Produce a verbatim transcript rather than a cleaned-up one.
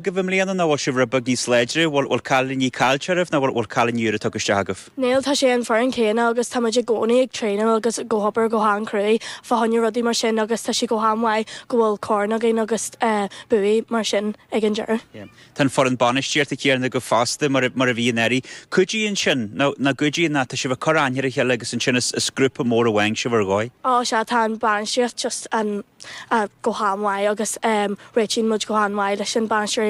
Agaibh i mbliana nó bhfuil sibh rud beag níos láidre, bhfuil bhfuil cailíní caillte oraibh nó bhfuil bhfuil cailíní úra tugtha isteach agaibh? Níl tá sé an foireann céanna agus tá muid i gcónaí ag traenáil agus go hobair go han-cruaidh fá choinne rudaí mar sin agus tá sé go han-mhaith go bhfuil corn againn agus uh, buaí mar sin ag an deireadh. Yeah. Tá an foireann bainistíochta céanna go fosta mar mar a bhí anuraidh. Cuidíonn sin nó na gcuidíonn ná tá sibh ag cur aithne ar a chéile agus ansin is is grúpa mór amháin sibh ar dhóigh. Á sea tá an bainistíocht just an uh, go han-mhaith agus um, réitíonn muid go han-mhaith leis an bainisteoirí